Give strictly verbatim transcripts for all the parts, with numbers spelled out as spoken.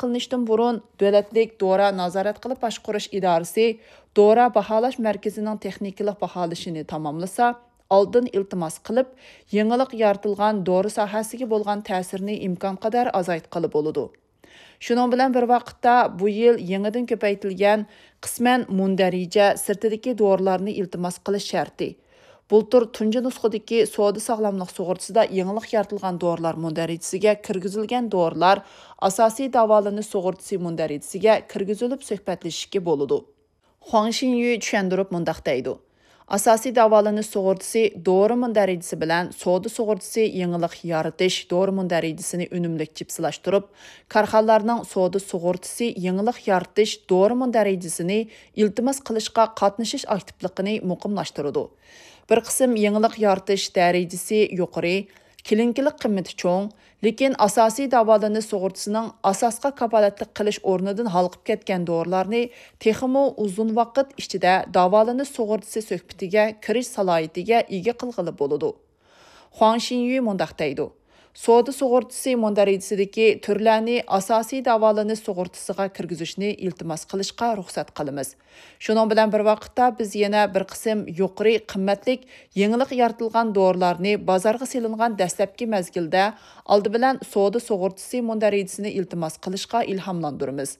قىلىنىشتىن بۇرۇن، دۆلەتلىك دورا نازارەت قىلىپ باشقۇرۇش ئىدارىسى دورا باھالاش مەركىزىنىڭ تېخنىكىلىق باھالىشىنى تاماملىسا، ئالدىن ئىلتىماس قىلىپ، يېڭىلىق يارىتىلغان دورا ساھەسىگە بولغان تەسىرنى ئىمكانقەدەر ئازايتقىلى بولىدۇ. شۇنىڭ بىلەن بىر ۋاقىتتا، بۇ يىل يېڭىدىن كۆپەيتىلگەن قىسمەن مۇندەرىجە سىرتىدىكى دورىلارنى ئىلتىماس قىلىش شەرتى، بۇلتۇر تۇنجى نۇسخىدىكى سودا ساغلاملىق سۇغۇرتىسىدا يېڭىلىق يارىتىلغان دورىلار مۇندەرىجىسىگە كىرگۈزۈلگەن دورىلار ئاساسىي داۋالىنىش سۇغۇرتىسى مۇندەرىجىسىگە كىرگۈزۈلۈپ سۆھبەتلىشىشكە بولىدۇ. خۇاڭ شىنيۈ چۈشەندۈرۈپ مۇنداق دەيدۇ: ئاساسىي داۋالىنىش سۇغۇرتىسى دورا مۇندەرىجىسى بىلەن سودا سۇغۇرتىسى يېڭىلىق يارىتىش دورا مۇندەرىجىسىنى ئۈنۈملۈك جىپسىلاشتۇرۇپ، كارخانىلارنىڭ سودا سۇغۇرتىسى يېڭىلىق يارىتىش دورا مۇندەرىجىسىنى ئىلتىماس قىلىشقا قاتنىشىش ئاكتىپلىقىنى مۇقىملاشتۇرىدۇ. بىر قىسىم يېڭىلىق يارىتىش دەرىجىسى يۇقىرى، كلىنىكىلىق قىممىتى چوڭ، لېكىن ئاساسىي داۋالىنىش سۇغۇرتىسىنىڭ ئاساسقا كاپالەتلىك قىلىش ئورنىدىن ھالقىپ كەتكەن دورىلارنى تېخىمۇ ئۇزۇن ۋاقىت ئىچىدە داۋالىنىش سۇغۇرتىسى سۆھبىتىگە كىرىش سالاھىيىتىگە ئىگە قىلغىلى بولىدۇ. خۇاڭ شىنيۈ مۇنداق دەيدۇ: سودا سۇغۇرتىسى مۇندەرىجىسىدىكى تۈرلەرنى ئاساسىي داۋالىنىش سۇغۇرتىسىغا كىرگۈزۈشنى ئىلتىماس قىلىشقا رۇخسەت قىلىمىز. شۇنىڭ بىلەن بىر ۋاقىتتا، بىز يەنە بىر قىسىم يۇقىرى قىممەتلىك يېڭىلىق يارىتىلغان دورىلارنى بازارغا سېلىنغان دەسلەپكى مەزگىلدە ئالدى بىلەن سودا سۇغۇرتىسى مۇندەرىجىسىنى ئىلتىماس قىلىشقا ئىلھاملاندۇرىمىز.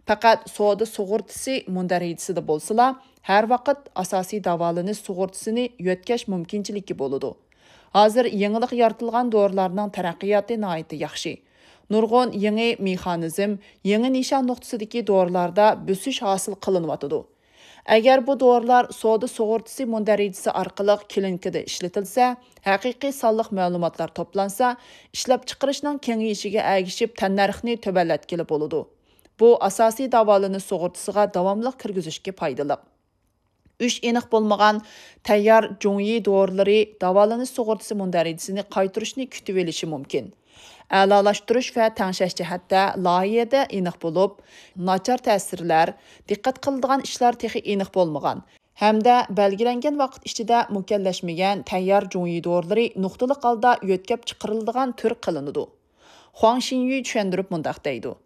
پەقەت سودا سۇغۇرتىسى مۇندەرىجىسىدە بولسىلا، ھەر ۋاقىت ئاساسىي داۋالىنىش سۇغۇرتىسىنى يۆتكەش مۇمكىنچىلىكى بولىدۇ. ھازىر يېڭىلىق يارىتىلغان دورىلارنىڭ تەرەققىياتى ناھايىتى ياخشى. نۇرغۇن يېڭى مېخانىزم، يېڭى نىشان نۇقتىسىدىكى دورىلاردا بۆسۈش ھاسىل قىلىنىۋاتىدۇ. ئەگەر بۇ دورىلار سودا سۇغۇرتىسى مۇندەرىجىسى ئارقىلىق كلىنىكىدا ئىشلىتىلسە، ھەقىقىي سانلىق مەلۇماتلار توپلانسا، ئىشلەپچىقىرىشنىڭ كېڭىيىشىگە ئەگىشىپ تەننەرخنى تۆۋەنلەتكىلى بولىدۇ. بۇ ئاساسىي داۋالىنىش سۇغۇرتىسىغا داۋاملىق كىرگۈزۈشكە پايدىلىق. ئۈچ ئېنىق بولمىغان تەييار جۇڭيى دورىلىرى داۋالىنىش سۇغۇرتىسى مۇندەرىجىسىنى قايتۇرۇشنى كۈتۈۋېلىشى مۇمكىن. ئەلالاشتۇرۇش ۋە تەڭشەش جەھەتتە لايىھەدە ئېنىق بولۇپ، ناچار تەسىرلەر، دىققەت قىلىدىغان ئىشلار تېخى ئېنىق بولمىغان ھەمدە بەلگىلەنگەن ۋاقىت ئىچىدە مۇكەللەشمىگەن تەييار جۇڭيى دورىلىرى نۇقتىلىق ھالدا يۆتكەپ چىقىرىلىدىغان تۈر قىلىنىدۇ. خۇاڭ شىنيۈ چۈشەندۈرۈپ مۇنداق دەيدۇ: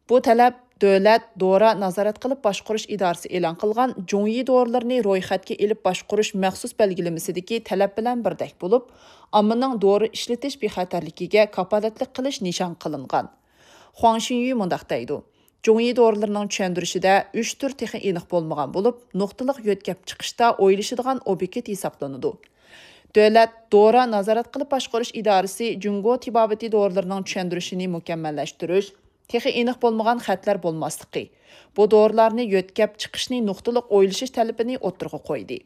بۇ تەلەپ دۆلەت دورا نازارەت قىلىپ باشقۇرۇش ئىدارىسى ئېلان قىلغان جۇڭيى دورىلىرىنى رويخەتكە ئېلىپ باشقۇرۇش مەخسۇس بەلگىلىمىسىدىكى تەلەپ بىلەن بىردەك بولۇپ، ئاممىنىڭ دورا ئىشلىتىش بىخەتەرلىكىگە كاپالەتلىك قىلىش نىشان قىلىنغان. خۇاڭ شىنيۈ مۇنداق دەيدۇ: جۇڭيى دورىلىرىنىڭ چۈشەندۈرۈشىدە ئۈچ تۈر تېخى ئېنىق بولمىغان بولۇپ، نۇقتىلىق يۆتكەپ چىقىشتا ئويلىشىدىغان ئوبيېكت ھېسابلىنىدۇ. دۆلەت دورا نازارەت قىلىپ باشقۇرۇش ئىدارىسى جۇڭگو تېبابىتى دورىلىرىنىڭ چۈشەندۈرۈشىنى مۇكەممەللەشتۈرۈش، تېخى ئېنىق بولمىغان خەتلەر بولماسلىقى، بۇ دورىلارنى يۆتكەپ چىقىشنى نۇقتىلىق ئويلىشىش تەلىپىنى ئوتتۇرىغا قويدى.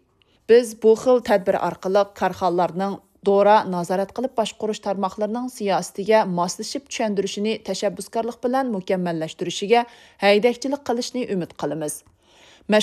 بىز بۇ خىل تەدبىر ئارقىلىق كارخانىلارنىڭ دورا نازارەت قىلىپ باشقۇرۇش تارماقلىرىنىڭ سىياسىتىگە ماسلىشىپ چۈشەندۈرۈشىنى تەشەببۇسكارلىق بىلەن مۇكەممەللەشتۈرۈشىگە ھەيدەكچىلىك قىلىشنى ئۈمىد قىلىمىز.